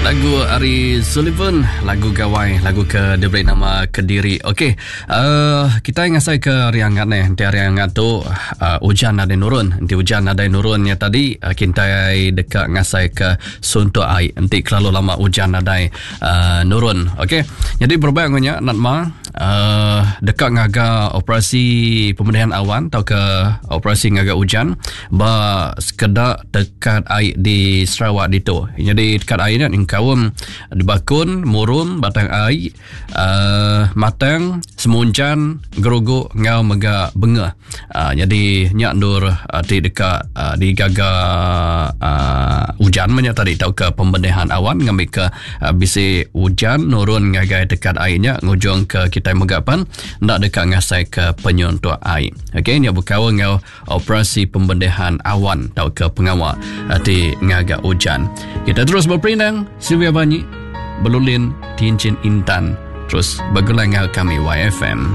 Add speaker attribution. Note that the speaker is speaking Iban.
Speaker 1: Lagu ari Sullivan, lagu gawai, lagu ke diberi nama Kediri. Okey, uh, kita ngasai ke hari angat ni. Enti hari angat tu uh, hujan nadai nurun. Enti hujan nadai nurun nya tadi, uh, kita deka ngasai ke suntuk ai. Enti kelalu lama hujan nadai uh, nurun. Okey. Jadi berubah ngunya Natma uh, deka ngaga operasi pemulihan awan atau ke operasi ngaga hujan ba sekeda tekat ai di Sarawak ditu. Jadi tekat ai ni nyengkaum di Bakun, Murum, Batang Ai, uh, Matang, Semunjan, Gerugu enggau mega Bengeh. Uh, jadi nya endur uh, ti deka uh, digaga uh, ujan menya tadi tauka pembenahan awan ngambika uh, bisi ujan nurun ngagai tekat ai nya ngujung ke kitai mega pan enda deka ngasai ke penyuntuk ai. Okey nya bekaul enggau operasi pembenahan awan tauka pengawa uh, ti ngaga ujan. Kita terus berperindang Sylvia Banyi Belulin Tincin Intan terus begulai enggau kami YFM.